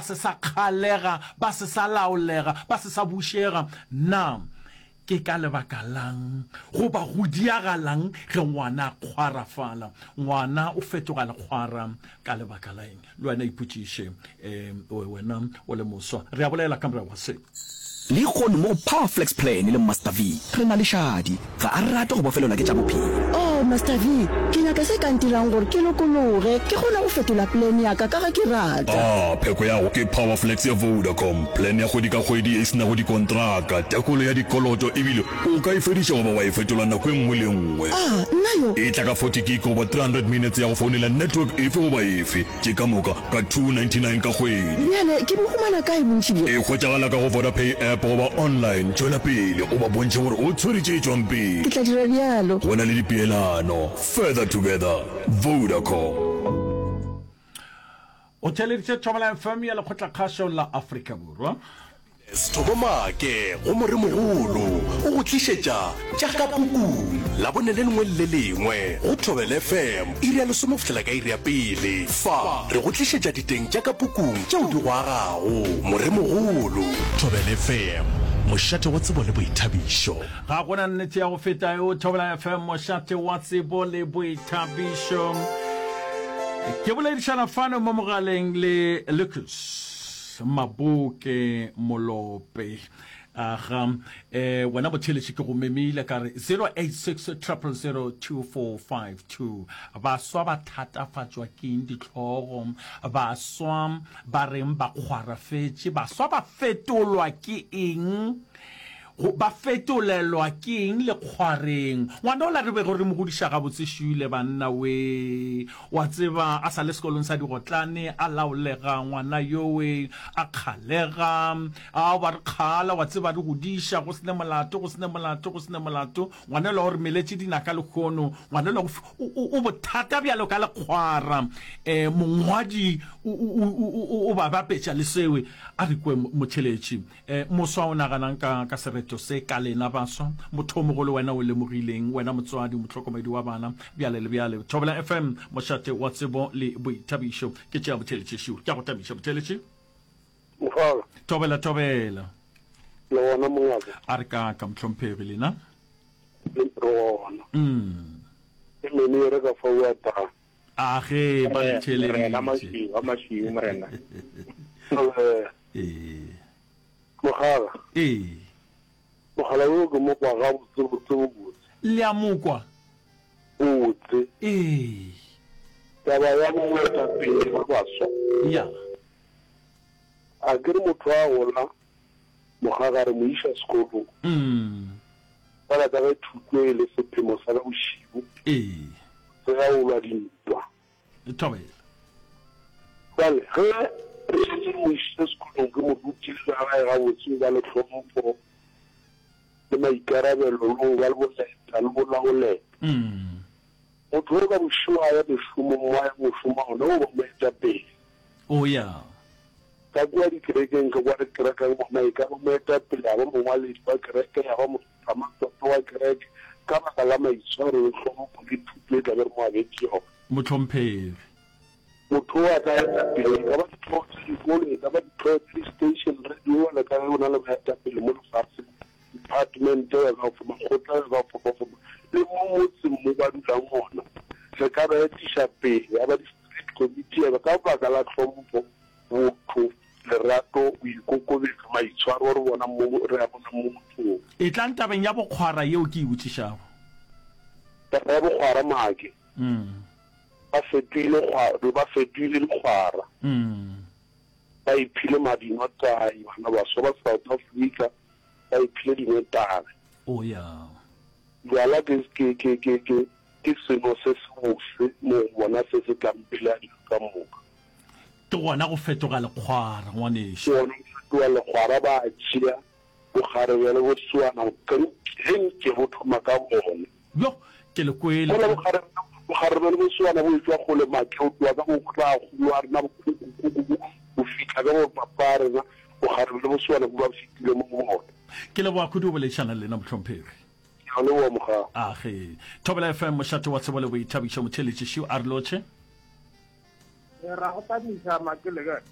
se sa kgalega, ba se sa laolega, ba se sa bušega. Na ke ka lebaka la'ng goba go diagala'ng ge ngwana a kgwarafala? Ngwana o fetoga lekgwara ka lebaka la eng? Le wena ipotšiše, um wena o le moswa. Re a bolela ka morago ga se. Lehono mo go Power Flex Plan le Master V, re na le Shadi. Ga a rate go bofelelwa ke tša bophelo. Oh, Master V, ke nyaka se ka ntirang gore ke lokologe, ke kgone go fetola plan ya ka ka ge ke rata. Ah, pheko ya go ke Power Flex ya Vodacom, plan ya kgwedi ka kgwedi ye e se nago dikontraka, tekolo ya dikoloto ebile o ka e fediša goba wa e fetola nako e nngwe le e nngwe. Ah, nna yo! E tla ka 40 gig goba 300 minutes ya go founela network efe goba efe. Tše ka moka ka 299 ka kgwedi. Bjale ke bo humana kae bontši bjo? E hwetšagala ka go Vodapay app goba online. Tšwela pele o ba bontšhe gore o tshwere tše tšwang pele. Ke tla dira bjalo. Go na le dipeelano. Further together. Vodacom. O theeleditše Thobela FM ya Lekgotlakgašo la Afrika Borwa. Sethobo Maake go Moremogolo o go tlišetša tša ka pukung Labone le lengwe le le lengwe go Thobela FM iri ya lesome go fihlela ka iri ya pele. Fa re go tlišetša diteng tša ka pukung tšeo di go agago. Moremogolo. Thobela FM, mošate wa tsebo le boithabišo. Ga go na nnete ya go feta eo. Thobela FM, mošate wa tsebo le boithabišo. Ke boledišana fano mo mogaleng le Lucas. Maboke Molope. Aga, eh, wena motheeletši ke go memile ka re 086 000 2452. Baswa ba thatafatšwa keng dihlogo? Baswa ba reng ba kgwarafetše? Baswa ba fetolwa ke eng? Go, ba fetolelwa ke eng lekgwareng? Ngwana ola re bego re mo godiša gabotse šule, banna wee. Wa tseba, a sa le sekolong sa digotlane, a laolega ngwana yowe, a kgalega. A ba re kgala, wa tseba, re godiša, go se ne molato, go se ne molato, go se ne molato. Ngwana yola o re meletše dinaka lehono. Ngwana yola o, o, o bothata bjalo ka lekgwara. Um mongwadi o, o, o, o, o ba bapetša le sewe. A re kwe, motheeletši. E, moswa o naganang ka, ka sereto se ka lena baswa? Motho o mogolo wena o lemogileng, wena motswadi, mohlokomedi wa bana, bjale le bjale. Thobela FM, mošate wa tsebo le boithabišo. Ke tšea botheletši šiu. Ke a go tabiša, botheletši. Mogala. Thobela, thobela. Le gona mongaka. A re kaka, mohlomphegi, lena? Re gona. Mm. Ke mene e re ka fa ua tang. A ge, ba re theeleditše. Morena mašiu, a mašiu, morena. Thobela. Ee. Mogala. Ee. Mogala yo ke mo kwa gabotse botse botse. Le a mo kwa? Botse. Ee. Taba ya boetapele ba baswa. Ya. A ke re motho a gola mogaga re mo iša sekolong. Mm. Fela ka ge thuto e le sephemo sa ka bošibu. Ee. Tseba o lwa dintwa. Thobela. Bjale, ge re šetše re mo išitše sekolong, ke mo rutile tša gae gabotse, go ba le tlhompho le maikarabelo le go ba le boleta le go laoleta. Motho yo ka bošego a ya mešomong mo a yang go šoma gona, o ba moetapele. O ya. Ka kua dikerekeng, ka kua re kerekang gona, e ka ba moetapele, ya ba mongwaledi wa kereke, ya ba ramatlotlo wa kereke, ka baka la maitshwaro le tlhompho le thuto e tla be re mo abetše yona. Mohlomphegi. Motho o a ka eta pele, e ka ba dihlogo tša dikolo, e ka ba dihlogo tša di-station radio, bjalo ka ge go na le baetapele mo lefaseng, department ya ka go makgotla ya ka go fapafapa, le mo motseng mo ba dulang gona, re ka ba etiša pele, ya ba di-street committee, ya ba ka baka la tlhompho, botho, lerato, boikokobetšo, maitshwaro re bona mo, re a bonang mo mothong. Etlang tabeng ya bokgwara yeo ke e botšišago. Taba ya bokgwara, Maake. Ba fetoile kgwa, ba fetoile dikgwara. Ba iphile madinotagi, bana baswa ba South Africa ba iphile dinotagi. Oh ya. Bjala ke, ke, ke, ke, ke, ke seno se sebose mo go bona se se tlang pele a dilo ka moka. Ke gona go fetoga lekgwara, ngwanešu. Ke gona go fetoga lekgwara, ba a tšea bokgarebe le bosoana, ge nke bo thoma ka bona. Bjo, ke le kwele. Mola bokgarebe, bokgarebe le bosoana bo etšwa kgole, make o tloga ka bo ragolo a rena, bokhukhu-khukhu bo, go fihla ka bo papa a rena, bokgarebe le bosoana bo ba fetile mo go bona. Ke leboga kudu go boledišana le lena, mohlomphegi. Ke a leboga, Mogau. Age. Thobela FM, mošate wa tsebo le boithabišo, motheeletši Šiu a re lotšhe. Ra go thabiša, Make le kae?